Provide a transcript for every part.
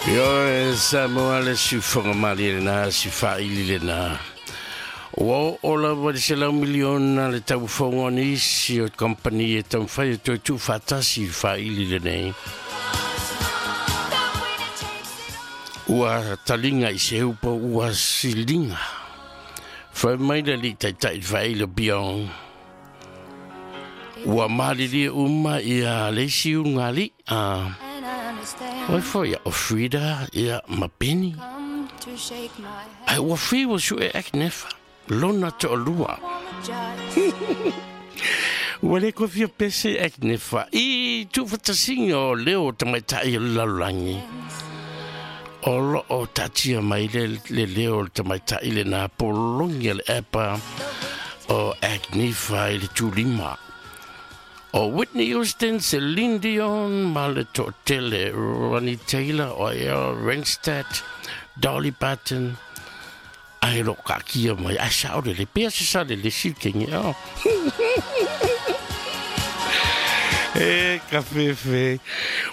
Ioe Samoa le siufoga malie lenā si faaili lenā. Ua oo lava i le $100 miliona le taufofoga o nisi o kamupani e taumafai e toe tuufaatasi i le faaili lenei. Ua taliga i se upu ua siliga. Fai mai le alii taitai i le faaili o Biong. Ua malilie uma ia le isi ulugalii a oi foi o Frida ia ma Penny. Ai ua fiu ua sue Agnefa lona toalua. Ua le koe fia pese Agnefa i tuufatasiga o leo o tamaitai o le lalolagi. O loo taatia mai le le leo o le tamaitai lenā pologi a le epa o Agnifa i le tulima. O Whitney Houston, Celine Dion ma le toatele Ronnie Taylor, o Ea Renstad, Dolly Parton, ae lo kaakia mai, ae sao lele, pea se sa lele si kenge, oh. E ka fefe.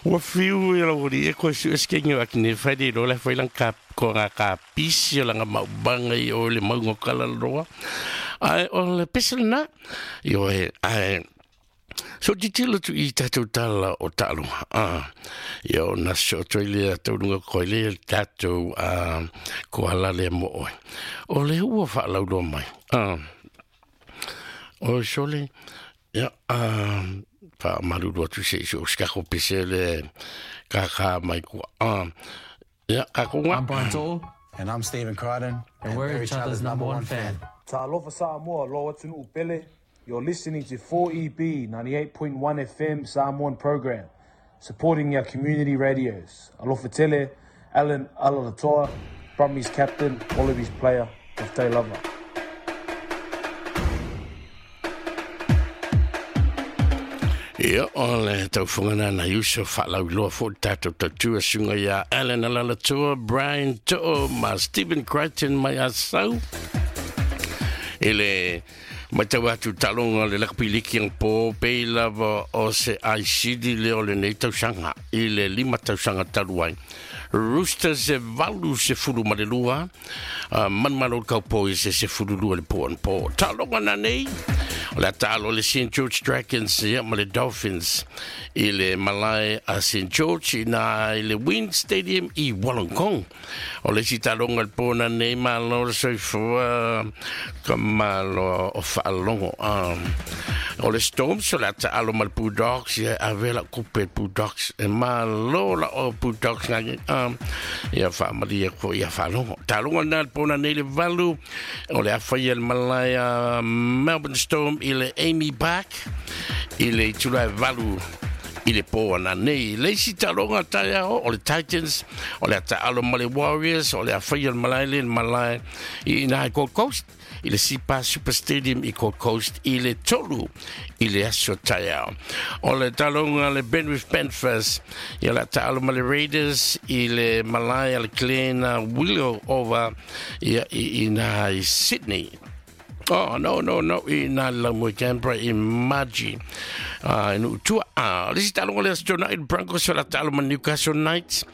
Ua fiu e lau ori e koe su eskenge o akine whai le lola whai lang ka ko ngā ka pisi o langa maubanga i o le maunga o Kalaloa. Ai o le pese lena, i o e, ai, so titilo tu i tātou tala o taaloga. Ah, i o na so toi lea taununga koe lea le tātou ah, ko ala lea mo oe. O le ua whaalauloa mai. Ah, o sole, ia, ah, whaamalulu atu se iso o skako pese le kākā mai kua. Ah, ia, ka konga. I'm Brian To'o. And I'm Stephen Crichton. And we're each other's number one fan. Talofa Samoa, lo atunuu pele. You're listening to 4EB 98.1 FM Samoan program, supporting our community radios. Alofa tele, Alan Alaalatoa, Brumbies captain, Wallabies player, Taftai lava. Ia, o le taufoga na nai uso whaalauiloa fo tātou tautua sunga ia Alan Alaalatoa, Brian To'o ma Stephen Crichton mai Asau. I le matau atu talonga le lakapi liki ang pō pei lava o se aisili le o lenei tausaga i le 5 tausaga talu ai. Roosters e 82, Manumalo Cowboys e 12 le po anapo. Taaloga nanei, o le a taalo le St George Dragons ia ma le Dolphins i le malae a St George ina i le Wynn Stadium i Wollongong. O le isi taaloga le po nanei malo le soifua ka malo o faalogo. O le Storms o le a taalo ma le Bulldogs ia ave la kupe Bulldogs e malo la o Bulldogs ngake. Ia faamalie ko ia faalogo. Taaloga na le pona nei le 8 o le afaia le malae a Melbourne Storm i le Amy Park i le itula e 8 i le pō ana nei. Le isi taaloga taeao o le Titans, o le a taalo ma le Warriors, o le afaia le malae le malae i ina i Gold Coast, i le Sipa Super Stadium i Gold Coast i le 3 i le aso taeao. O le taaloga le Penrith Panthers, ia le a taalo ma le Raiders i le malae a le Glen Willow Oval ia i ina i Sydney. Oh, no, no, no, i nā le lau i Canberra i Margie. I nuu tua. Le isi taaloga le Aso Toonai, le Broncos o le a taalo ma Newcastle Knights.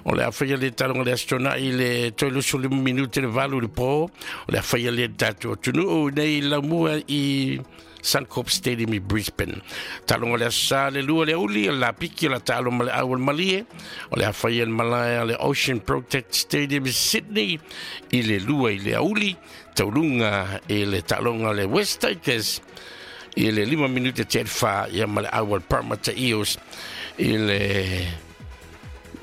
O le a whaia le taaloga le Aso Toonai i le 35 minute le 8 le pō. O le a whaia le tātou atunuu nei laumua i Suncorp Stadium i Brisbane. Taaloga le Aso Sa le 2 le aouli, o le Lapiki o le a taalo ma le au o le Malie. O le a whaia le malae a le Ocean Protect Stadium i Sydney i le 2 i le aouli. Tauluga i le taaloga le West Tigers i le 5 minute te fa ia ma le au al Parramatta Eels i le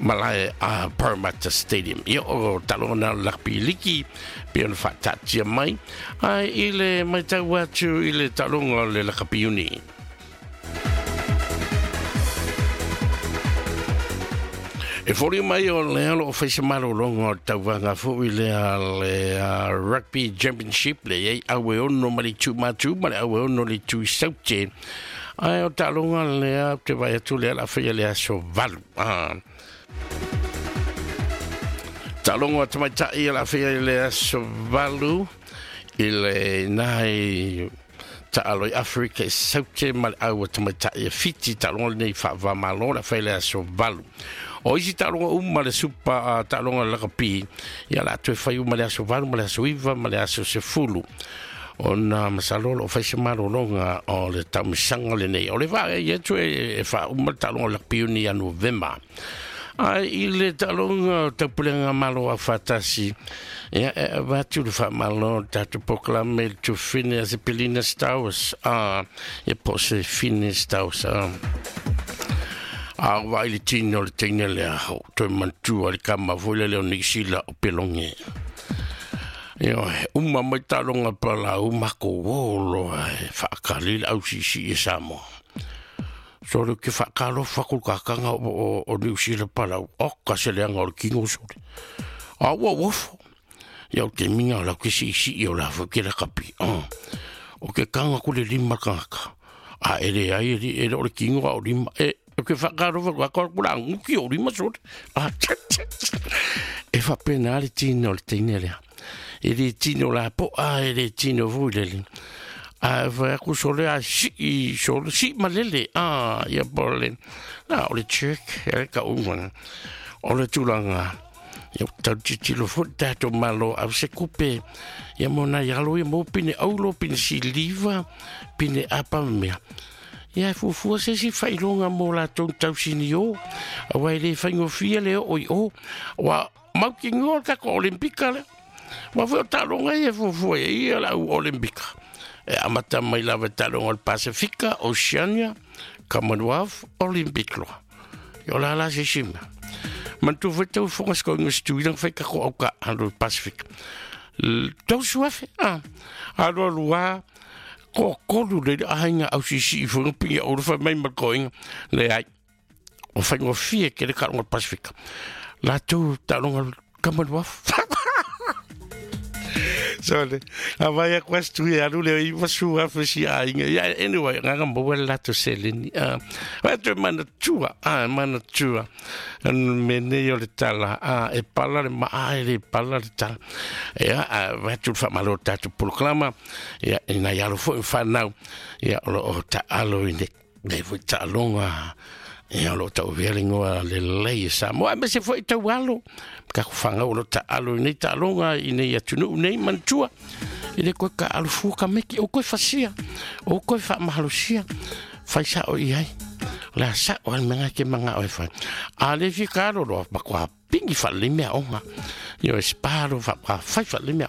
malae a Parramatta Stadium. Ia o taaloga na o le rugby liki pe ona faataatia mai ai i le matau atu i le taaloga o le rugby uni. E foliga mai o lea o loo fai se malologa o le tauvaga foi lea le Rugby Championship le iai au e 6 ma le itu matu ma le au e 6 le itu i saute. Ae o taaloga lea ou te vaai atu lea o le a faia le aso 8. Taaloga o tamaitai o le a faia i le aso 8 i le nai taalo i Afrika i saute ma le au a tamaitai e 7 taaloga lenei faava-malo o le a faia i le aso 8. O isi taaloga uma le supa taaloga lakapi, ia la toe fai uma le aso 8 ma le aso 9 ma le aso 10. Ona masalo o fai se malologa o le taumisaga lenei. O le vaa e atu e faauma le taaloga lakapi ni ia Novema. Ai i le taaloga o taupulega malo au faatasi, ia e avatu le faamalo tatou polokalame le tufine a se Pelina Stowers, ia po se Fine Stowers. A vai le tino le teine lea, o toe manatua le kama foi le leo Nisila o Pelonge. Ia, uma mai taaloga palau mako o loa e faakali le ausisi e Samoa. So le ke whaakalofa ko kakanga o New Zealand palau. O ka se leanga o le kingo sole. A ua wofo. Ia o te minga o lau ke si isi i o la fo ke la kapi. O ke kanga ku le lima kangaka. A ere ai ere o le kingo a o lima. E o ke whaakalofa ko ako kula nguki o lima sole. A e whapena le tino le teine lea. E le tino la po a e le tino vui le. A vai aku sole a si sole si malele a ia pole na o le check e ka unga o le tulanga ia tau titilo fo tato malo au se kupe ia mona ia lo ia mo pine aulo pine siliva pine apa mea ia fufua se si failonga mo la tau sini o a wai le faingofia le o i o wa mau ki ngoa ka ko olimpika le wa fo talonga ia fufua ia la olimpika. E amata mai lava taaloga o le Pasifika, Oceania, Commonwealth, Olympic loa. Ia o la la se sima. Mantu foi tau fonga se koinga situilang fai ka ko au ka alo Pasifika. Tau suafe, alo alua, ko kolu le ahinga au sisi i fonga pinga o le mai ma koinga. Le ai, o whainga fie ke le taaloga o le Pasifika. La tau taaloga Commonwealth. Sorry. A vai a questo e alu le i vasu a fesi a inga. Yeah, anyway, nganga mo wala to seleni. Wa to mana tua, mana tua. Mene yo le tala, e pala le ma a le pala le tala. Ya, wa tu fa malo ta tu proclama. Ya, ina ya lo fo fa nau. Ya o ta alo ine. Ne fo ta longa. Ia lo tau velingoa le lei sa mo me se foi tau alo ka ku fanga o lo ta alo nei ta longa i nei atunu nei mantua i le koe ka alo fua ka meki o koe fasia o koe fa mahalosia fai sa o i ai la sa o al menga ke manga o e fai a le fi ka ro ro pa kwa pingi fa le mea onga io e sparo fa pa fai fa le mea.